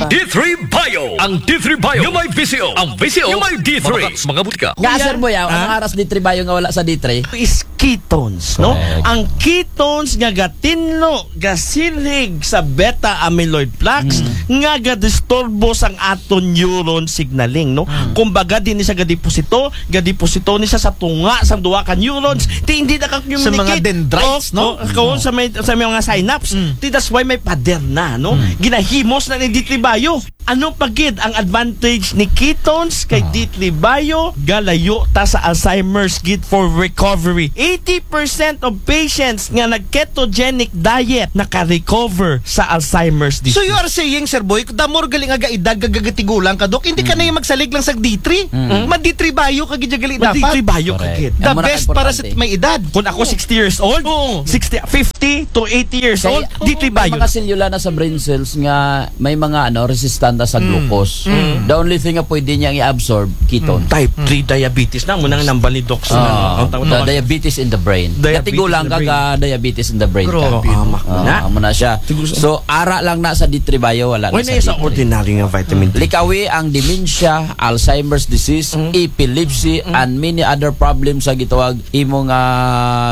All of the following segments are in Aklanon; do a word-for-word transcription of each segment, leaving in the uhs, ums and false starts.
D three Bio. Ang D three Bio nga may V C O. Ang V C O nga may D three. Mabakas mga butika. Nga, Sir Boy, ah, anong aras D three Bio nga wala sa D three? Is ketones, no? Correct. Ang ketones nga gatinlo, gasilhig sa beta amyloid plaques, nga gadisturbo sang aton neuron signaling, no? Kumbaga, di ni siya gadeposito, gadeposito ni siya sa tunga sang duha ka neurons. Ti hindi na ka-communicate. Sa mga dendrites, no? Oh, oh, sa may, sa may mga synapse. Ti that's why may pader na, no? Ginahimos na ni D three Bio. Ano pa gid ang advantage ni ketones kay D three Bio? Galayo ta sa Alzheimer's gid for recovery. Eighty percent of patients nga nag-ketogenic diet naka-recover sa Alzheimer's disease. So you are saying, Sir Boy, the more gali nga gaedad, gagatigulang ka, Dok, hindi ka na yung magsalig lang sa D three. Ma D three Bio ka gid gali dapat. Ma D three Bio ka gid. The best para sa may edad. Kung ako sixty years old, Oo. sixty, fifty to eighty years old, D three Bio. May mga selula na sa brain cells nga may mga, ano, resistanta sa glucose. The only thing nga pwede niyang i-absorb, ketone. Type three diabetes na, muna ang nambal ni Doc sa Ah, ang tawag the naman. Diabetes in the brain. Diabetes Katigulang in the ka brain. Ka diabetes in the brain Bro, ka. Amak Ah, na. Amo na siya. Siguro sa So, ara lang na sa D three Bio, wala Why na na sa sa D three. Ordinary nga vitamin D? Likawi ang dementia, Alzheimer's disease, epilepsy, and many other problems sa gitawag imo nga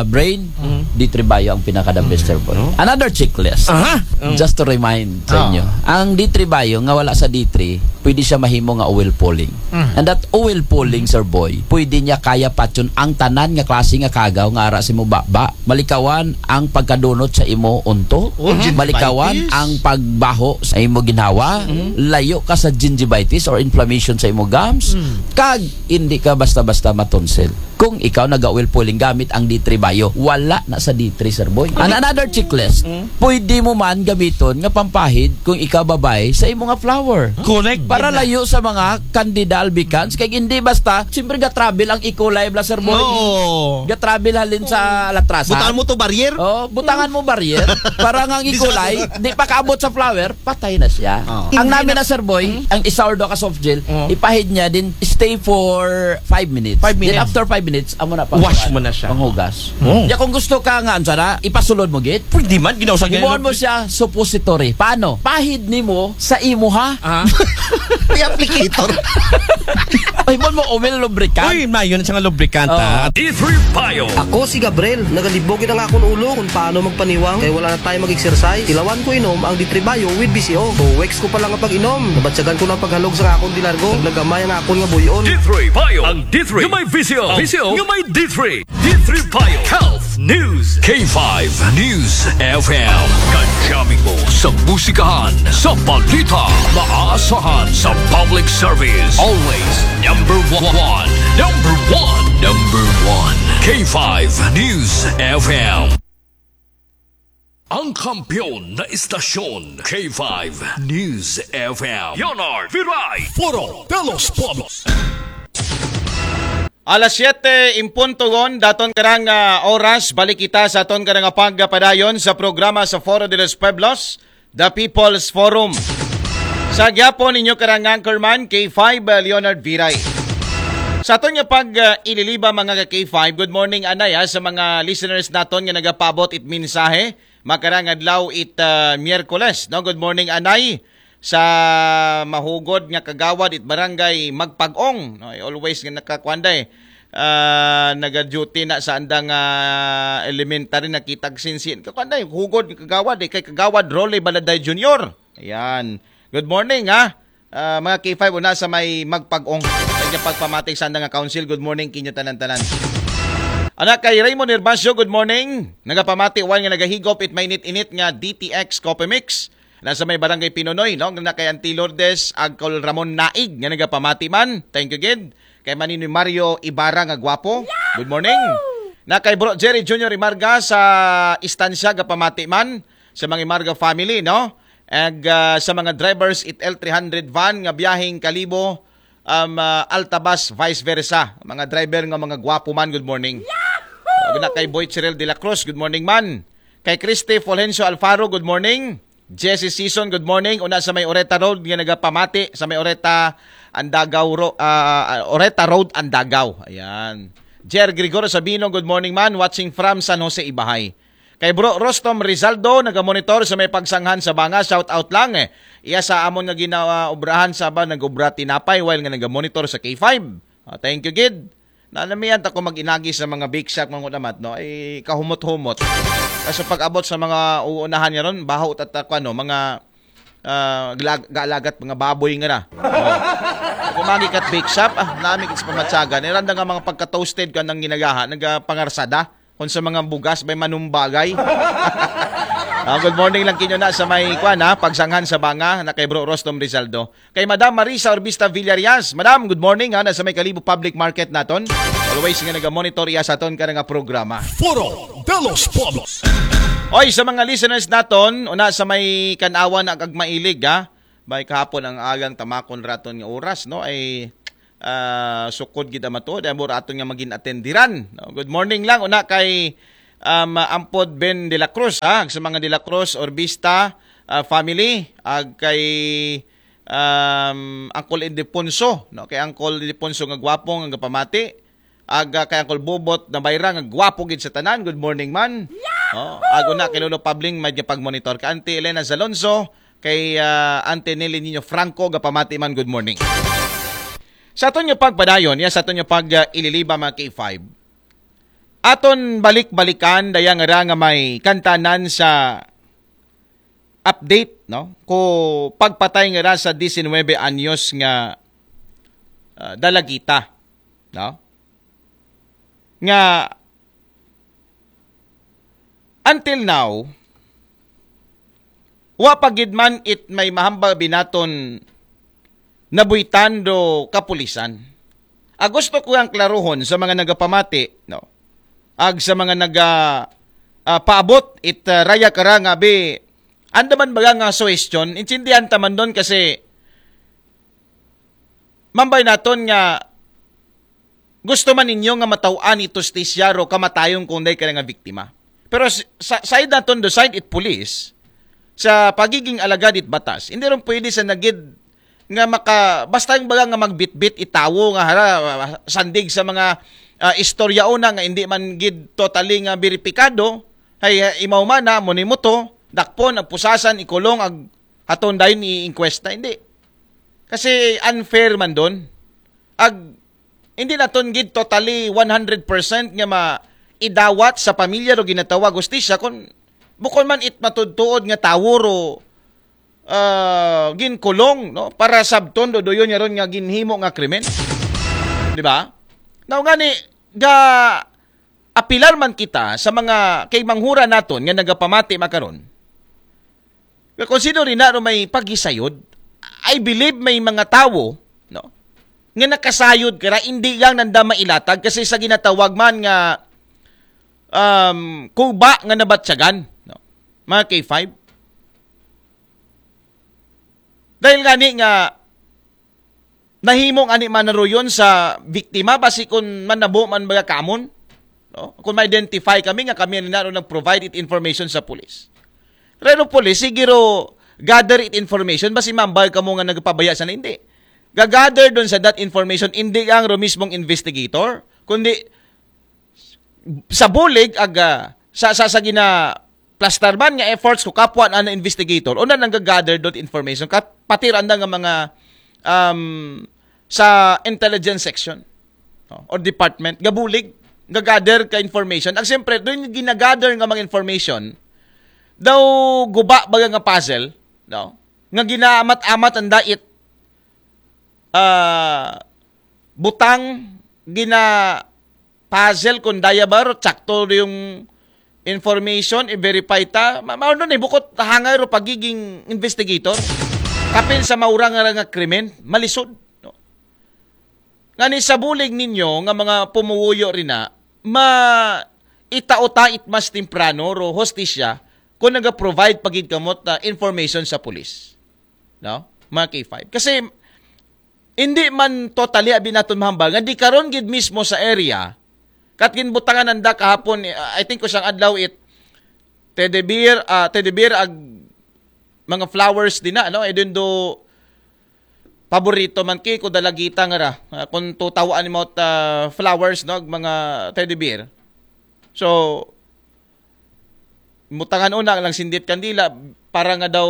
brain, D three Bio ang pinaka the best, Sir Boy. No? Another checklist. Aha. Just to remind sa Ah. inyo. Ang D three Bio nga wala sa D three, pwede siya mahimo nga oil pulling. And that oil pulling, Sir Boy, pwede niya kaya patyon ang tanan nga klase nga kagaw nga ara sa imo baba. Malikawan ang pagkadunot sa imo unto. Oh, gingivitis. Malikawan ang pagbaho sa imo ginhawa. Layo ka sa gingivitis or inflammation sa imo gums. Kag hindi ka basta-basta matonsil. Kung ikaw naga-oil pulling gamit ang D three Bio, wala na sa D three, Sir Boy. And another checklist, pwede mo man gamiton nga pampahid kung ikaw babay sa imo nga flower. Correct. Para layo sa mga candida albicans, kay hindi basta, siyempre ga-travel ang E. coli bla, Sir Boy. Oo. Ga-travel halin sa latrasan. Butangan mo to barrier? Oh, butangan mo barrier. Para nga ang E. coli, di pa kaabot sa flower, patay na siya. Oo. Ang Hindi namin na na, Sir Boy, ang isa or duha ka soft gel, Oo. ipahid niya din, stay for five minutes. Five Then minutes. After five minutes, amo na pang Wash mo na siya. Panghugas. Oo. Ya kung gusto ka nga, ano sana, ipasulod mo git. Pwede man, ginaw sa Himuon mo siya, suppository. Paano? Pahid nimo sa imo, ha? Ah. May applicator. Himuon mo, oil lubricant. Uy, mayon siya nga lubricant, Oo. ha? D three Bio. Ako si Gabriel. Nagalibog ang akong ulo kung paano magpaniwang kay wala na tayo mag-exercise. Tilawan ko inom ang D three Bio with B C O. Two weeks ko pa lang ang pag-inom. Nabatyagan ko ng paghalog sa akong dilargo. Naglagamay ang akong nga buyon. D three Bio. Ang D three. Nga may V C O. V C O. Nga may D three. D three Bio. Health News. K five News F M. Kadyamin mo sa musikahan, sa balita, maaasahan sa public service. Always number one. Number one. Number one. K five News F M. Ang kampiyon na istasyon, K five News F M. Leonard Viray. Foro de los Pueblos. Alas siyete en punto gon, daton karang, ah, oras, balik kita sa aton karang pagpadayon sa programa sa Foro de los Pueblos, The People's Forum. Sa gyapon ninyo karang anchorman, K five, ah, Leonard Viray. Sa aton nga pag, ah, ililiba, mga ka K five, good morning, anay, ah, sa mga listeners naton nga nagapabot it mensahe, makarang adlaw it, ah, Miyerkules, no? Good morning, anay, sa mahugod nga kagawad it barangay Magpag-ong, no? Always nga nakakuan day, ah, naga-duty na sa andang, ah, elementary, nakitag sinsin. Kakuan day, hugod nga kagawad, eh, kay Kagawad Rolly Baladay Junior. Ayan. Good morning, ha? Ah, mga K five, una sa may Magpag-ong. Kanya pagpamati sa andang nga council. Good morning, kinyo tanan-tanan. Anak kay Raymond Herbacio, good morning. Nagapamati, one nga nagahigop it mainit-init nga D T X Coffee Mix. Na sa may barangay Pinunoy, no? Na kay Auntie Lourdes Agcol Ramon Naig, nga nagapamati man. Thank you, gid. Kay Maninoy Mario Ibarra nga gwapo. Good morning. Na kay Bro Jerry Junior Imarga sa Estancia, gapamati man. Sa mga Imarga family, no? Ag, ah, sa mga drivers it L three hundred van nga biyaheng Kalibo, um, ah, Altabas, vice versa. Mga driver nga mga gwapo man, good morning. Yahoo! Na kay Boy Chirel de la Cruz, good morning man. Kay Christy Fulgencio Alfaro, good morning. Jesse Season, good morning. Una sa may Oreta Road nga nagapamati, sa may Oreta Andagaw Ro-, ah, Oreta Road, Andagaw. Ayan. Jer Gregorio Sabino, good morning man. Watching from San Jose, Ibahay. Kay Bro Rostom Rizaldo, nagamonitor sa may Pagsanghan sa Banga, shout out lang eh. Iya sa amon nga ginaobrahan sa ba, nag-obra tinapay while nga nagamonitor sa K five. Ah, thank you, gid. Nanamian ta ko mag-inagi sa mga bake shop, mga namat, no? Ay, kahumot-humot. Kasi pag-abot sa mga uunahan niya ron, baho tatak, ano, mga ah, glag- gaalagat mga baboy nga na. Oh. Kung magikat bake shop, ah, nami sa pamatsagan. Iranda nga mga pagka-toasted ka ng ginagaha, nagapangarsada. Kung sa mga bugas, may manumbagay. Ah, good morning lang kinyo na sa may kwan, ha, Pagsanghan sa Banga, na kay Bro Rostom Rizaldo. Kay Madam Marisa Orbista Villarias. Madam, good morning, ha, na sa may Kalibo Public Market naton. Always nga naga-monitor iya sa aton ka nga programa. Foro de los Pueblos. Oy, sa mga listeners naton, una sa may Kanawan ag Agmailig, ha. Bay kahapon ang agang tamakon raton nga oras, no? Ay, ah, sukod gid ang matuod, ay mo raton nga magin atendiran, no? Good morning lang, una kay, um, Ampod Ben de la Cruz, ha? Sa mga de la Cruz, Orbista, ah, family, ag kay, um, Uncle Ildefonso, no? Kay Uncle Ildefonso nga gwapo nga pamati, ag, ah, kay Uncle Bobot na Bayra nga gwapo gid sa tanan. Good morning man. Oh, ag una kay Lolo Pabling may pag-monitor. Kay Auntie Elena Zalonzo, kay, ah, Auntie Nelly Nino Franco, gapamati man, good morning. Sa aton nga pagpadayon, ya sa aton nga pag, ah, ililiba, mga K five. Aton balik-balikan, daya nga ra nga may kantanan sa update, no? Ko pagpatay nga ra sa diecinuebe anyos nga, ah, dalagita, no? Nga until now, wa pa gid man it may mahambal binaton nabuhitan do kapulisan. Ah, gusto ko ang klaruhon sa mga nagapamati, no? Ag sa mga naga, ah, paabot it, ah, raya kara nga bi, anda man baga nga suhestyon, intindihan ta man don kasi mambay naton nga gusto man ninyo nga mataw-an it hustisya ro kamatayon kung day ka nga biktima. Pero s- sa side naton do side it police, sa pagiging alagad it batas, hindi ron pwede sa nagid nga maka, basta yung baga nga magbitbit itawo nga hara, sandig sa mga, ah, istorya una nga hindi man gid totally nga beripikado, hay, ah, imaw man na, muni mo to, dakpon, agpusasan, ikulong, ag haton dayon i-inquest na, hindi. Kasi unfair man don. Ag, hindi naton gid totally one hundred percent nga ma idawat sa pamilya ro ginatawag hustisya kung bukon man it matudtuod nga tawo ro, ah, ginkulong, no, para sabton do doyon niya ron nga ginhimo nga krimen. Di ba? Now ngani, ga apilar man kita sa mga kay manghura naton nga nagapamati makaron. Pero kung sino rin na may paghisayod, I believe may mga tawo, no, nga nakasayod kara, hindi lang nanda mailatag kasi sa ginatawag man nga, um, kuba nga nabatyagan, no? Mga K five. Dahil gani nga nahimong ani manaruyon sa biktima, basi kung manabo man baga kamon, no? Kung ma-identify kami nga kami na nag-provide it information sa police. Pero police, sige ro gather it information, basi mambay kamo nga nagpabaya sa hindi. Gagather doon sa that information, hindi ang ro mismong investigator, kundi sa bulig aga sa sa sa gina plastarban nga efforts ko kapwa na investigator, una nang gagather dot information kat pati randa nga mga, um, sa intelligence section, no, or department, gabulig, gagather ka information. Ang siyempre doon ginagather nga mga information daw guba baga nga puzzle, no, nga ginaamat-amat ang dait, ah, butang gina puzzle kung daya ba ro, tsakto yung information, i-verify ta. Ma mao nun eh, bukod hangay ro pagiging investigator. Kapin sa maurang nga nga krimen, malisod, no? Ngani sa bulig ninyo nga mga pumuwuyo rin na, ma itauta it mas temprano ro hostisya kung naga-provide pagid kamot na information sa pulis, no? Mga K five. Kasi hindi man totally abi naton mahambal nga di karon gid mismo sa area kat ginbutangan nanda kahapon, eh, I think ko siyang adlaw it teddy bear, ah, teddy bear ag mga flowers din na, ano, eh, din do paborito man kay ko dalagita nga ra, ah, kung tutawaan mo ta flowers, no, ag mga teddy bear. So, mutangan una lang sindit kandila para nga daw,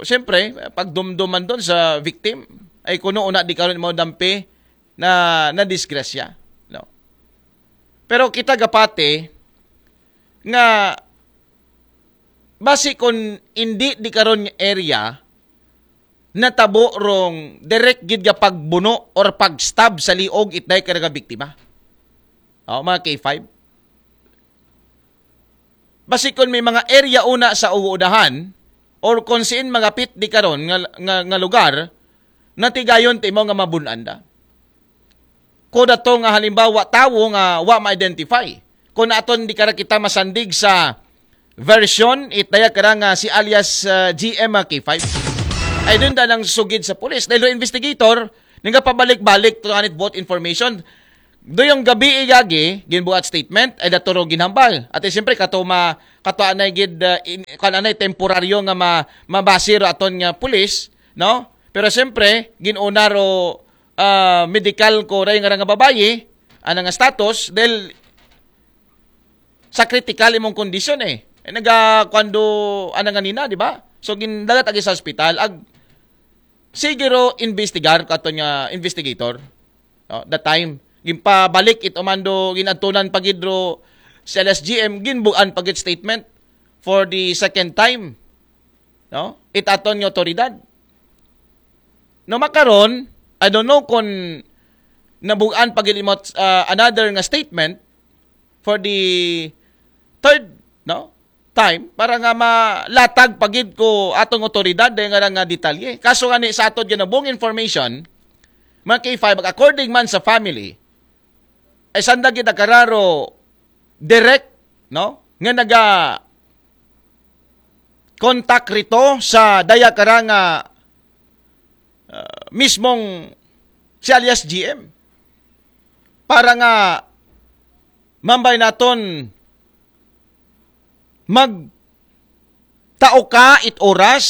siyempre, pagdumduman doon sa victim, ay kuno una di karon mo dampi na nadisgrasya, no? Pero kita gapati nga basi kung hindi di karon nga area natabo rong direct gid nga pagbuno or pagstab sa liog itday ka nga biktima. Oh, mga K five. Basi kung may mga area una sa udahan or kung siin magapit di karon nga, nga, nga lugar, natigayon timo nga mabunan da. Ko dato nga halimbawa tawo nga wa ma-identify. Kung aton di kara kita masandig sa version, itaya kara nga si alias uh, G M K five. Ay doon da nang sugid sa pulis. Dahil investigator, nga pabalik-balik to anit both information. Do yung gabi igagi, ginbuhat statement, ay daturo ginhambal. At siyempre, kato ma, kato anay gid, uh, in, kan anay temporaryo nga ma, mabasiro aton nga pulis, no? Pero siyempre, ginuna ro uh, medical ko ray nga nga babayi, ana nga status, dahil sa critical imong kondisyon eh. Eh, naga, kwando, ana nga nina, di ba? So, gindagat agi sa hospital, ag, siguro investigar kato nga investigator. No, that time, ginpabalik it umando, ginadtunan pagidro sa L S G M, ginbuan pagid statement for the second time. No? It aton nga otoridad. No, makaron, I don't know kung nabugan pagid imot uh, another nga statement for the third, no? Time para nga malatag pagid ko atong otoridad dahil nga nga detalye. Kaso nga ni sa ato ginabuong information, mga K five, according man sa family, ay sanda gid kararo direct, no? Nga naga contact rito sa daya kara nga uh, mismong si alias G M para nga mambay naton mag tao ka it oras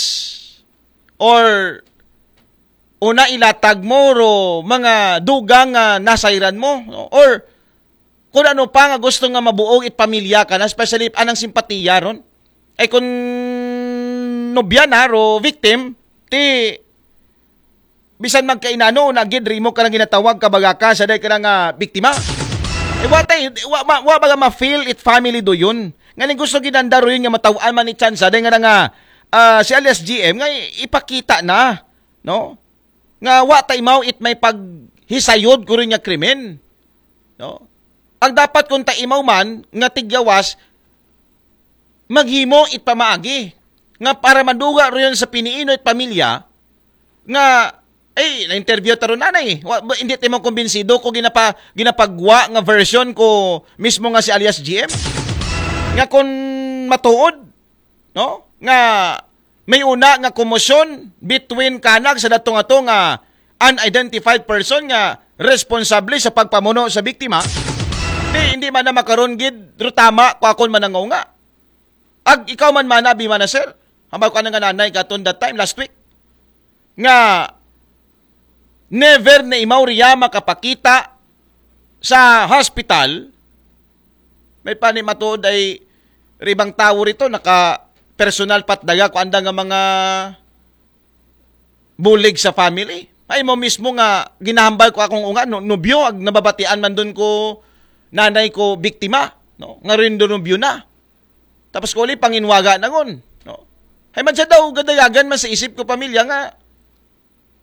or una ilatag mo ro mga dugang nga nasayran mo, no? Or kung ano pa nga gusto nga mabuog it pamilya ka na, especially anang simpatiya ron. Ay kung nobya na ro victim, ti bisan magkainano na gid rimo ka nang ginatawag ka baga ka sa day ka nga biktima. Eh, wa tay, wa, ma, wa baga ma-feel it family do yun. Nga ning gusto ginanda ro yun nga matawaan man ni chance day nga nga uh, si alias G M nga ipakita na, no? Nga wa ta imaw it may paghisayod ko rin nga krimen. No? Ang dapat kung ta imaw man nga tigyawas, maghimo it pamaagi nga para maduga rin sa piniino it pamilya nga ay na-interview ta ron anay. Wa, hindi timo kumbinsido ko ginapa, ginapagwa nga version ko mismo nga si alias G M nga kung matuod, no? Nga may una nga komosyon between kanag sa dato nga to nga unidentified person nga responsable sa pagpamuno sa biktima. Di, hindi man na makaron gid rutama ko akon manangaw nga. Ag ikaw man mana, bi mana sir. Hambal ko nga nanay katon that time last week. Nga never na imaw riya makapakita sa hospital. May pani matuod ay ribang tawo rito naka personal patdaga ko anda nga mga bulig sa family. Ay mo mismo nga ginahambal ko akong unga no, nubyo ag nababatian man dun ko nanay ko biktima, no? Nga rin do nubyo na. Tapos ko uli panginwaga na ngon, no? Hay man sa daw gadayagan man sa isip ko pamilya nga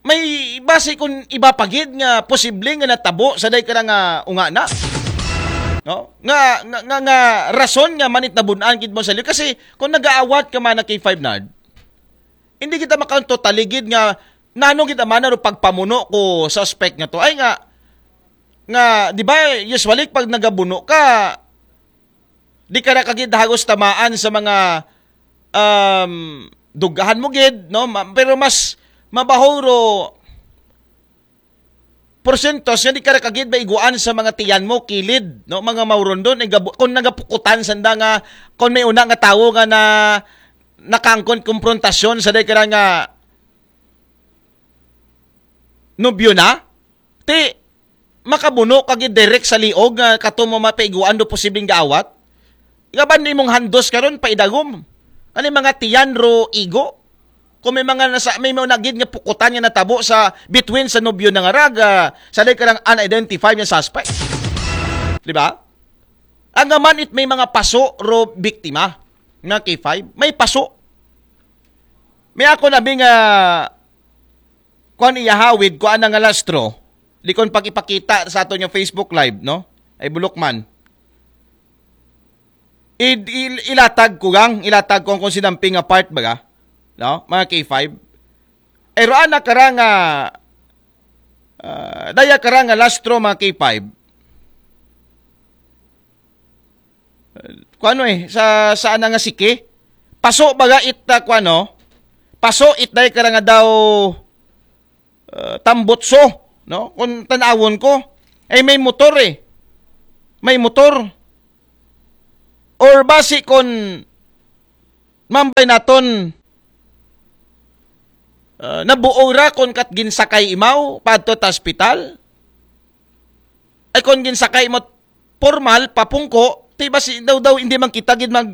may base kung iba pagid nga posible nga natabo sa day ka nga unga na, no? Nga nga nga, nga rason nga manit nabunan gid mo sa liyo kasi kung nagaawat ka man na K five nard, hindi kita makanto taligid nga nano kita man ro pagpamuno ko suspect nga to ay nga nga di ba usually pag nagabuno ka di ka na kagid hagos tamaan sa mga um, dugahan mo gid no. Ma- pero mas mabaho ro porsentos nga di ka na kagid ba iguan sa mga tiyan mo kilid no mga maurondon ay gabu- kung nagapukutan sanda nga kung may una nga tawo nga na nakangkon komprontasyon sa day ka nga nobyo na ti makabuno kag direct sa liog nga kato mo mapaiguan do posibleng gaawat. Gaban imong handos karon pa idagom. Ano yung mga tiyan ro igo? Kung may mga nasa, may mga nagid nga pukutan nga natabo sa between sa nobyo na nga rag, ah, sa day karang unidentified nga suspect. Di ba? Ang naman it may mga paso ro biktima. Mga K five, may paso. May ako na bing, ah, kuan iyahawid, kuan nga lastro. Di kon pag ipakita sa ato yung Facebook Live, no? Ay bulok man. I-, i-, ilatag ko gang, ilatag ko ang kung sinamping nga part baga, no? Mga K five. Pero ana karang, ah, ah, daya karang lastro mga K five. Kuano eh, sa, sa ana nga siki? Paso baga it, ah, kuano? Paso it daya karang daw, ah, tambutso, no? Kung tanawon ko, ay may motor eh. May motor. Or basi kon mambay naton, ah, nabuo ra kon kat ginsakay imaw, padto ta ospital. Ay kon ginsakay mo formal, papungko, ti basi daw daw, hindi man kita gid mag,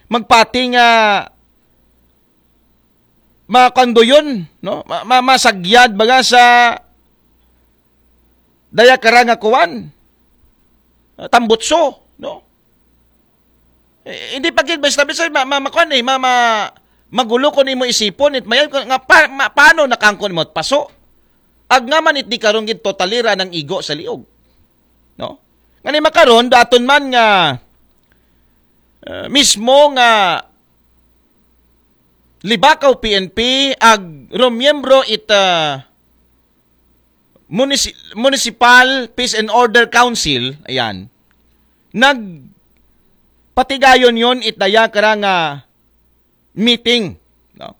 magpati nga makandoyon, no? Ma-, ma-, masagyad baga sa daya karang kuan, ah, tambutso, no? Eh, hindi pa gid basta basta ma, ma, makuan eh, ma, ma, magulo ko nimo isipon it mayan ko nga pa, ma, paano nakangkon mo paso? Ag nga man it di karon gid totalira ng igo sa liog. No? Ngani makaron daton man nga, ah, mismo nga Libakaw P N P ag romiyembro it, ah, Munisi-, Municipal Peace and Order Council, ayan, nagpatigayon yon it daya karang meeting, no?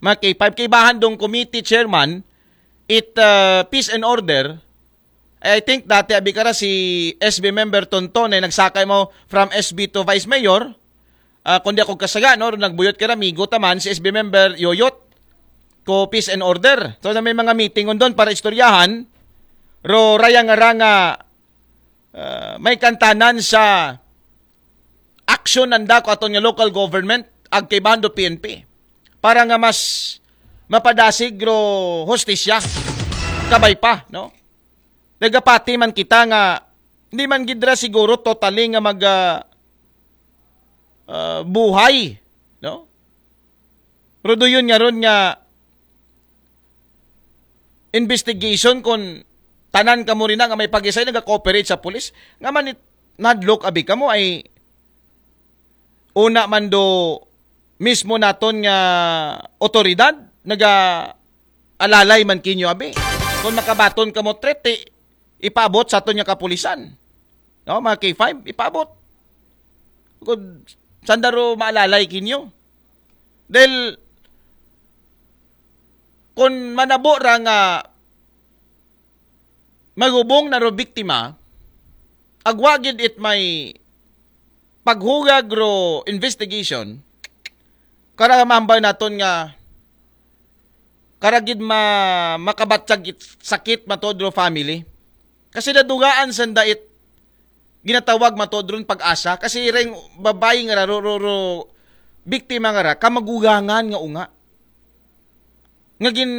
Mga K five, kaibahan dong committee chairman, it, uh, Peace and Order, I think dati abi kara si S B member Tonton ay nagsakay mo from S B to Vice Mayor, ah, kundi ako kasaga, no? Nagbuyot kara, migo taman si S B member Yoyot ko Peace and Order. So, na may mga meeting on doon para istoryahan, ro rayang aranga, ah, may kantanan sa action nanda ko aton nga local government, ag kay bando P N P. Para nga mas mapadasig ro hostisya. Kabay pa, no? Nagapati man kita nga, hindi man gidra siguro totally nga mag, ah, ah, buhay, no? Pero do yun nga ron nga investigation kung tanan kamo rin nga may pag-isay nagka-cooperate sa pulis. Nga man it-, nadlok abi kamo ay una man do mismo naton nga otoridad naga alalay man kinyo abi. Kung makabaton kamo threat, eh, ipaabot sa aton nga kapulisan. No, mga K five, ipaabot. Kung sandaro maalalay kinyo. Dahil kung manabo ra nga magubong na ro biktima, agwa gid it may paghugag ro investigation, kara mambay naton nga kara gid ma-, makabatyag it sakit matod ro family. Kasi nadugaan sanda it ginatawag matod ron pag-asa. Kasi ring babae nga ra, ro, ro, ro, biktima nga ra, kamagugangan nga unga. Nga gin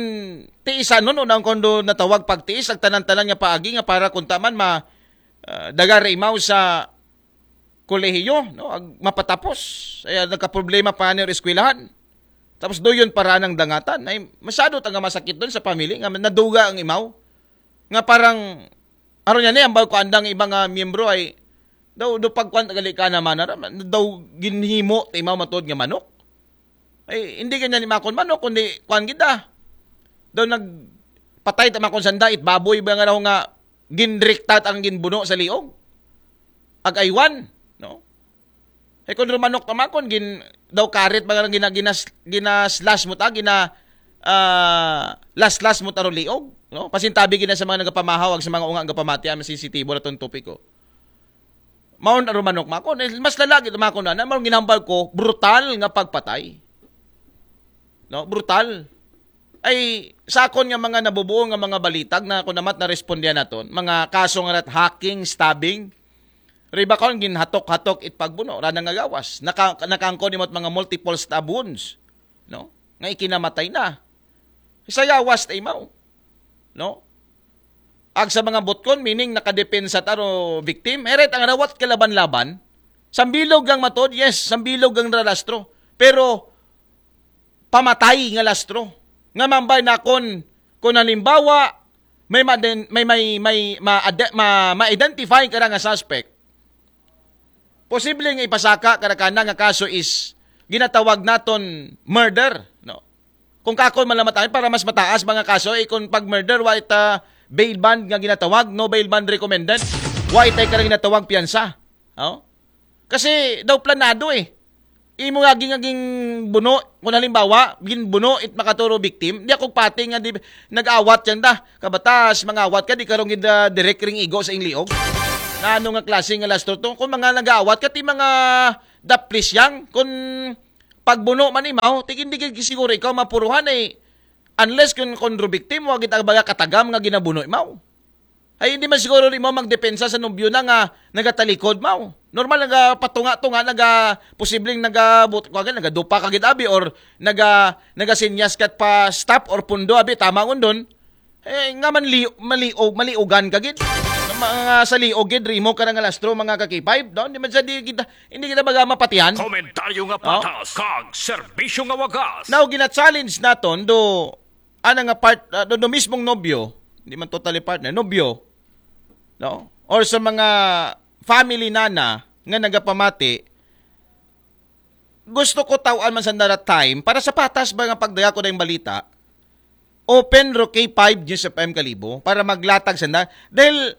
tiisan nun, unang kondo natawag pagtiis, ag tanan-tanan nga paagi nga para kunta man ma, ah, daga ra imaw sa kolehiyo, no? Ag mapatapos. Ay, nagkaproblema pa ni eskwelahan. Tapos do yun para nang dangatan. Ay, masyado ta nga masakit doon sa pamilya nga naduga ang imaw. Nga parang, aron yan eh, ang ko andang iba nga miyembro ay, daw, do pagkuan, gali ka naman, ara, daw ginhimo, ta imaw matod nga manok. Ay, hindi ganyan ni makon manok, kundi kuan gid ah. Daw nagpatay ta makon sanda, it baboy ba nga raw nga ginriktat ang ginbuno sa liog? Ag aywan, no? Eh, kung rumanok ta makon, gin, daw karit ba nga gina, ginas, ginaslash mo ta, gina, ah, laslas mo ta ro liog, no? Pasintabi gina sa mga nagapamahaw, ag sa mga unga nga pamati, ang sensitibo na tong topiko. Maon aro manok makon. Eh, mas lalagi makon na, na maong ginhambal ko, brutal nga pagpatay. No, brutal. Ay, sa akon nga mga nabubuo nga mga balitag na ako namat na respondihan naton, mga kaso nga rat hacking, stabbing, Riba kon ginhatok-hatok it pagbuno, rana nga gawas. Naka, nakaangkon nimo mga multiple stab wounds, no? Nga ikinamatay na. Sa gawas ta imaw, no? Ag sa mga butkon, meaning nakadepensa ta ro victim. Eret ang rawat kalaban-laban. Sambilog ang matod, yes, sambilog ang rarastro. Pero pamatay nga lastro. Nga mambay na kon, kon halimbawa, may ma-, may, may, may ma-, ma-identify ka na nga suspect, posible nga ipasaka ka na kana nga kaso is ginatawag naton murder, no? Kung kakon malamat para mas mataas mga kaso, eh, kung pag murder, wa ita bail bond nga ginatawag, no bail bond recommended. Wa itay ka na ginatawag piyansa. Oh? Kasi daw planado eh. Imo nga ging, ging buno, kung halimbawa, ginbuno it makaturo victim, di ako pati nga di, nag-awat yan da. Kabatas, mga awat ka, di karong gid, ah, direct ring igo sa ingliog. Na ano nga klase nga lastro to? Kung mga nag-awat ka, ti mga daplis yang, kung pagbuno man imaw, ti hindi gid siguro ikaw mapuruhan eh. Unless kung kondro victim, wa gid ang baga katagam nga ginabuno imaw. Ay, hindi man siguro rin mo magdepensa sa nobyo na nga nagatalikod, maw. Normal, nagapatunga-tunga, naga, posibleng naga, but-, kuwagan, nagadupa ka gid, abi, or naga, nagasinyas ka pa stop or pundo, abi, tama undon. Eh, nga man li-, maliog, maliugan ka gid. Mga sa liog gid, rimo ka na nga lastro, mga ka-K five, no? Hindi man sa di kita, hindi kita baga mapatihan. Komentaryo nga patas, kag serbisyo nga wagas. Now, gina-challenge naton, do, ana nga part, ah, do, do mismong nobyo, hindi man totally partner, nobyo, no? Or sa mga family nana nga nagapamati, gusto ko tawaan man sa dara time para sa patas ba nga pagdaga ko na yung balita, open ro K five News F M Kalibo para maglatag sa na. Dahil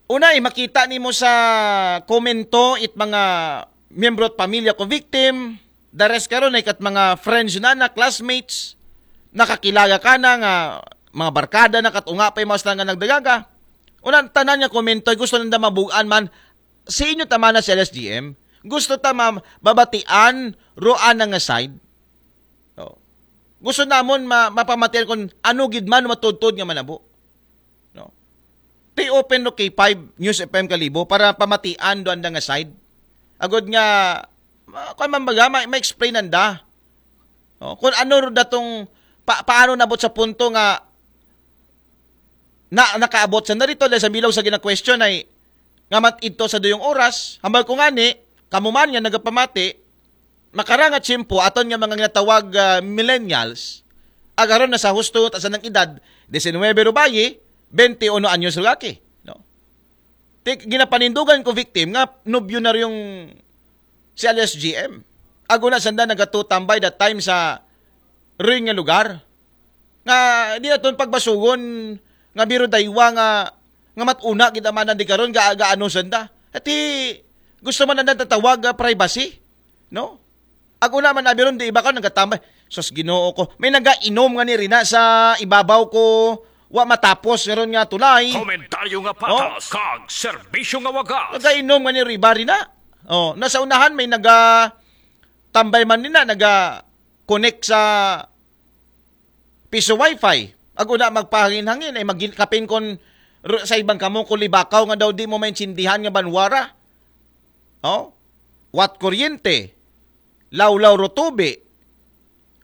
una, eh, makita nimo sa komento it mga miyembro at pamilya ko victim, the rest karon ay kat mga friends na na, classmates, nakakilala ka na nga mga barkada na kat unga pa yung mga sila nga nagdagaga. Una, tanan nga komento ay gusto nanda mabugaan man sa inyo tama na sa L S G M. Gusto ta ma-, babatian roan nga side. Oh. Gusto namon ma-, mapamatian kung ano gid man matudtod nga manabo. No? Ti open no K five News F M Kalibo para pamatian do anda nga side. Agod nga, ma-, kung man baga, ma-, ma-explain anda. No? Kung ano ro datong, pa-, paano nabot sa punto nga na, nakaabot sa narito dahil sa bilaw sa gina-question ay nga mat ito sa duyong oras, hambal ko nga ni, kamuman nga nagapamati, makaranga tiyempo aton nga mga ginatawag, ah, millennials, agaron na sa husto ta sa nang edad, diecinuebe rubayi, twenty-uno anyos rugaki, no? Ti-, ginapanindugan ko victim nga nobyo na rin yung si alias G M. Aguna sanda nagatutambay that time sa ring nga lugar. Nga, di aton pagbasugon, nga biro daywa nga, nga matuna kita manan di karon ga, gaano sanda. Ati, gusto man na tatawag, ah, privacy, no? Ako naman, abi ron, di iba ka, nagatambay. Sus, Ginoo ko. May nagainom nga ni Rina sa ibabaw ko. Wa matapos, nga ron nga tulay. Komentaryo nga patas, kag serbisyo nga wagas. Nagainom nga ni Riba, Rina. Oh, nasa unahan, may naga, tambay man nina, naga, connect sa piso wifi. Ag una magpahangin-hangin, ay magin-, kapin kon ru-, sa ibang kamo kulibakaw nga daw di mo maintindihan nga banwara. Oh? Wat kuryente, lawlaw ro tubi.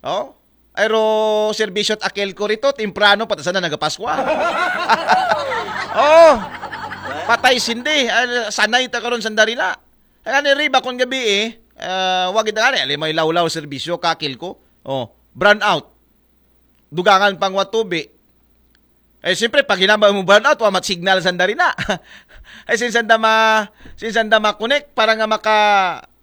Oh? Ay ro serbisyo at akel ko rito, temprano, pati sana nagapaskwa. Oh, patay sindi. Ay, sanay ta karon sandarila. Ay, ani riba kung gabi eh, ah, wag ita nga, alimay lawlaw serbisyo, kakil ko. Oh, brown out. Dugangan pang watubi. Eh, siyempre, pag hinambal mo brown out, wa mat signal sanda rin na. Ay, sinsanda ma, sinsanda ma-connect para nga maka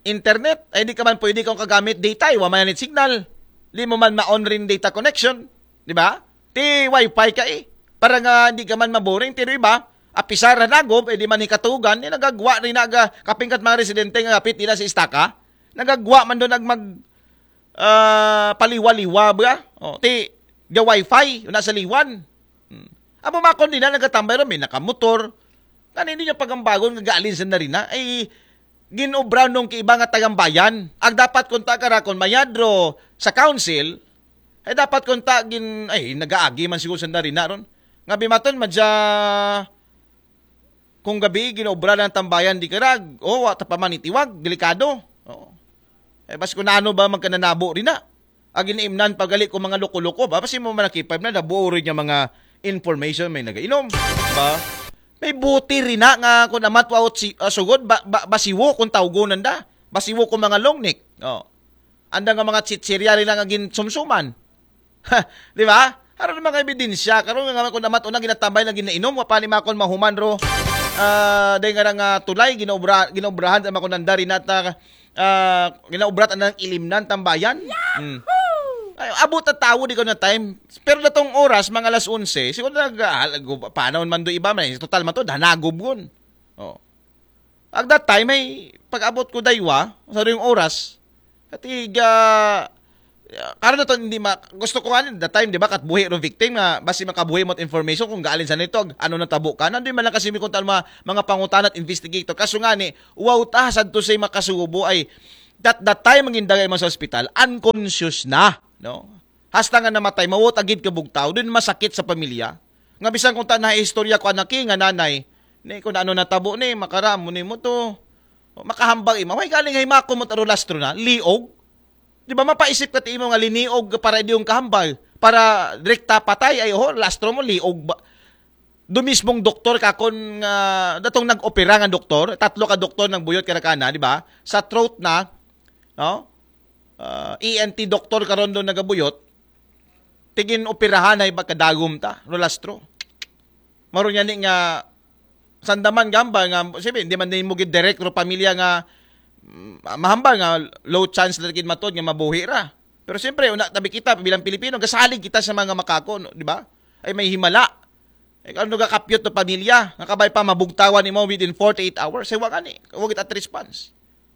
internet. Ay, di ka man pwede kung kagamit data, eh, wa man it signal. Di mo man ma-on rin data connection. Di ba? Ti wifi ka eh. Para nga di ka man maboring. Tiro iba, apisar na nagob, eh, di man hikatugan, eh, nagagwa rin na aga, kapingkat mga residente nga kapit nila sa istaka. Nagagwa man doon ag mag, ah, paliwa-liwa ba? Oh, ti, the wifi, na sa liwan. Hmm. Amo makon din na nagatambay ron, may nakamotor. Kan hindi niya pagambagon nga gaalin sa narina, ay ginobra nung kiiba nga tagambayan. Ag dapat kung ta karakon mayadro sa council, ay dapat kung ta gin, ay nagaagi man siguro sa narina ron. Nga bimaton, madya, Kung gabi, ginaobra ng tambayan, di karag. O, wa ta pa man itiwag, delikado. Oo. Eh, bas kung ano ba magkananabo rin na. Ag inaimnan pagali ko mga loko-loko ba? Basi mo man nakipay na, nabuo rin yung mga information may nagainom. Ba? May buti rin na nga kung amat wa si, ah, sugod, ba, ba, basiwo kung tawgo nanda. Basiwo kung mga long neck. Oh. Anda nga mga chichirya rin na nga ginsumsuman. Ha, di ba? Aron mga ebidensya, karon nga kung amat unang ginatambay na ginainom, wa pa ni makon mahuman ro. Ah, dahil nga nga tulay, ginaobra, ginaobrahan sa makunanda rin at ah, ah, ginaobrat ang ilimnan, tambayan. Hmm. Ay, abot na tawo di ko na time. Pero datong oras, mga alas onse, siguro nag, ah, halago, paano man do iba man, total man to, danagob gun. Oh. At that time, ay pag-abot ko daywa, sa yung oras, katiga, karon na to, hindi ma, gusto ko nga, that time, di ba, katbuhi ro victim nga, basi makabuhi mo information kung gaalin sa nito, ano na tabo ka, nandun man lang kasi may kung mga, mga pangutan at investigator. Kaso nga ni, wow, ta, sad to say makasubo ay, that, that time, ang indagay mo sa ospital, unconscious na, no? Hasta nga namatay, mawot agid kabugtaw, dun masakit sa pamilya. Nga bisan kung ta na istorya ko anak nga nanay, ni kung ano natabo ni, makaramo ni mo to. Makahambag ima. Way galing hay mako mo tarulastro na, liog. Di ba mapaisip ka ti imo nga liniog para di yung kahambal? Para direkta patay, ay oho, lastro mo, liog ba? Do mismong doktor ka kon nga, datong nag-opera nga doktor, tatlo ka doktor ng buyot karakana, di ba? Sa throat na, no? Ah, E N T doktor karon do nagabuyot, tigin operahan ay pagkadagom ta, rolastro. Maro niya ni nga, sandaman gamba nga, sabi, hindi man din mo gid direct ro pamilya nga, mm, mahambal nga low chance lang gid matod nga mabuhi ra. Pero siyempre, una, tabi kita, bilang Pilipino, gasalig kita sa mga makako, no, di ba? Ay may himala. Eh, ano ga kapyot to pamilya? Nakabay pa mabugtawan nimo within forty-eight hours. Ay, wa gani. Wa gid at response.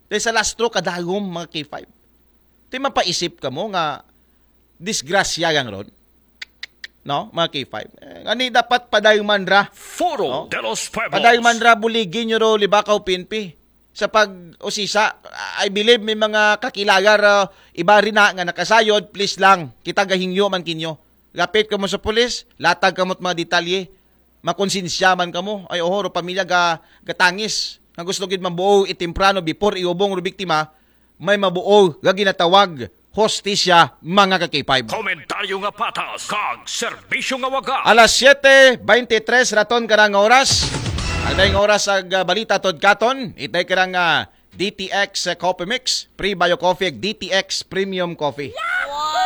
Dahil sa lastro, kadagom, mga K five. Di mapaisip ka mo nga disgrasya gang ron? No, mga K five. Eh, ngani dapat padayman ra. Foro No? De los Pueblos. Padayman ra, buligi nyo ro, libakaw, P N P. Sa pag-usisa, I believe may mga kakilagar, ah, iba rin na nga nakasayod, please lang, kita gahingyo man kinyo. Lapit ka mo sa pulis, latag ka mo't mga detalye, makonsensya man ka mo. Ay, oho, ro pamilya ga, gatangis. Nga gusto gid mabuo itimprano before iubong ro biktima, may mabuo ga ginatawag hostisya, mga ka-K five. Komentaryo nga patas, kag serbisyo nga waga. Alas siyete beintitres raton karang oras. Ang dayong oras ag, ah, balita tod katon, itay karang, ah, D T X, ah, Coffee Mix, Pre Bio Coffee, ag D T X Premium Coffee.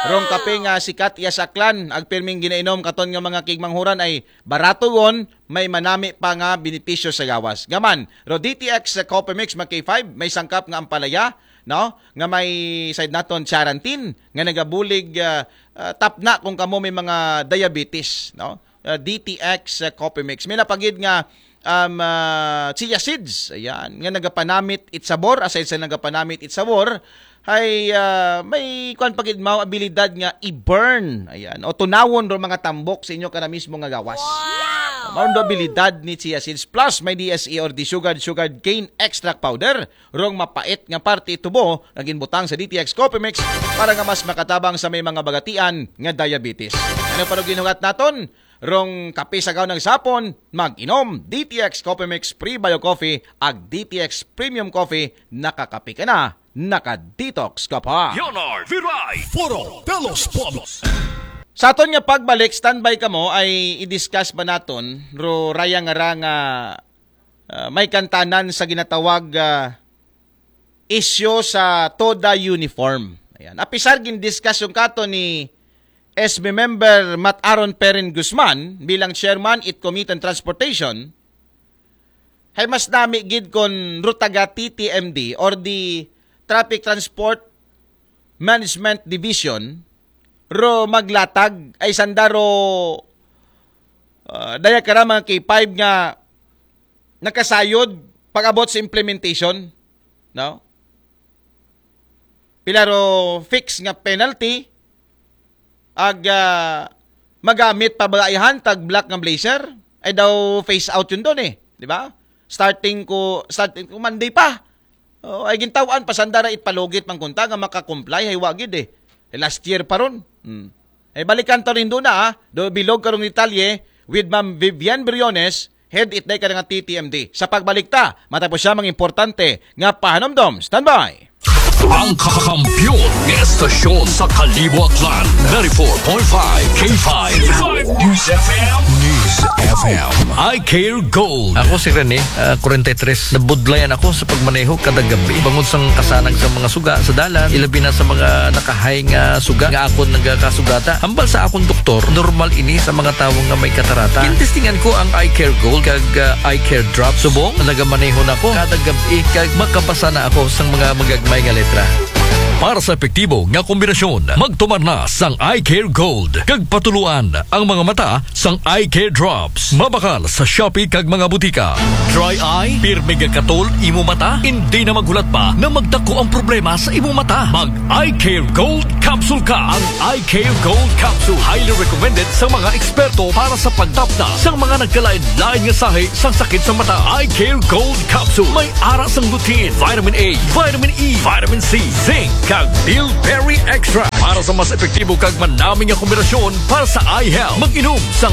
Rong kape nga sikat iya sa Aklan, ag pirming ginainom katon nga mga kigmanghuran ay barato gon, may manami pa nga benepisyo sa gawas. Gaman, ro D T X, ah, Coffee Mix, mga K five, may sangkap nga ampalaya, no? Nga may side naton charantin nga nagabulig, ah, ah, tapna kung kamo may mga diabetes, no? Ah, D T X, ah, Coffee Mix. May napagid nga, um, ah, chia seeds, ayan, nga nagapanamit it sabor, aside sa nagapanamit it sabor, ay, ah, may kwan pagid mao abilidad nga i-burn, ayan, o tunawon ro mga tambok sa inyo kana mismo nga gawas. Wow! Mao do abilidad ni chia seeds. Plus, may D S E or desugared sugar cane extract powder. Rong mapait nga parte tubo nga ginbutang sa D T X Coffee Mix para nga mas makatabang sa may mga bagatian nga diabetes. Ano pa ro ginugat naton? Rong kape sa gaw ng sapon, mag-inom D T X Coffee Mix Pre Bio Coffee ag D T X Premium Coffee, nakakape ka na, naka-detox ka pa. Leonard Viray, Foro de los Pueblos. Sa aton nga pagbalik, standby ka mo, ay i-discuss ba naton ro raya nga ra nga ah, may kantanan sa ginatawag, ah, issue sa TODA uniform. Ayan. Apisar gin-discuss yung kato ni S B member Mat Aaron Perin Guzman bilang chairman it Committee on Transportation, hay mas nami gid kon ro taga T T M D or the Traffic Transport Management Division ro maglatag ay sanda ro, ah, daya kara mga K five nga nakasayod pag-abot sa implementation, no? Pila ro fix nga penalty ag, ah, magamit pa ba ihan tag black nga blazer? Ay daw phase out yun doon eh, di ba? Starting ko, starting ko Monday pa. Oh, ay gintawan pasandara ipalugit man kunta nga maka-comply hay wa gid eh. Eh, last year pa ron. Hmm. Ay balikan ta rin doon na, ah. Do bilog karong detalye with Ma'am Vivian Briones Head itday ka nga T T M D. Sa pagbalik ta, matapos siya mga importante nga pahanumdom. Standby! Ang kakampiyon nga estasyon sa Kalibo Aklan, ninety-four point five K five News F M. News F M. I Care Gold. Ako si Rene, ah, forty-three. Nabudlayan ako sa pagmaneho kada gabi. Bangod sang kasanag sa mga suga sa dalan, ilabi na sa mga nakahay nga suga nga akon nagakasugata. Hambal sa akong doktor, normal ini sa mga tawo nga may katarata. Gintestingan ko ang Eye Care Gold kag, ah, Eye Care Drop. Subong, nagamaneho na ko kada gabi kag makabasa na ako sang mga magagmay nga letra. Para sa epektibo nga kombinasyon, magtumar na sang Eye Care Gold kag patuluan ang mga mata sang Eye Care Drops. Mabakal sa Shopee kag mga butika. Dry eye, pirmi nga katol imo mata, hindi na maghulat pa na magdako ang problema sa imo mata. Mag Eye Care Gold Capsule ka. Ang Eye Care Gold Capsule highly recommended sa mga eksperto para sa pagtapda sa mga nagkalain-lain nga sahi sang sakit sa mata. Eye Care Gold Capsule may ara sang lutein, vitamin A, vitamin E, vitamin C, zinc, kag bilberry extract para sa mas epektibo kag manami nga kombinasyon para sa eye health. Mag-inom sa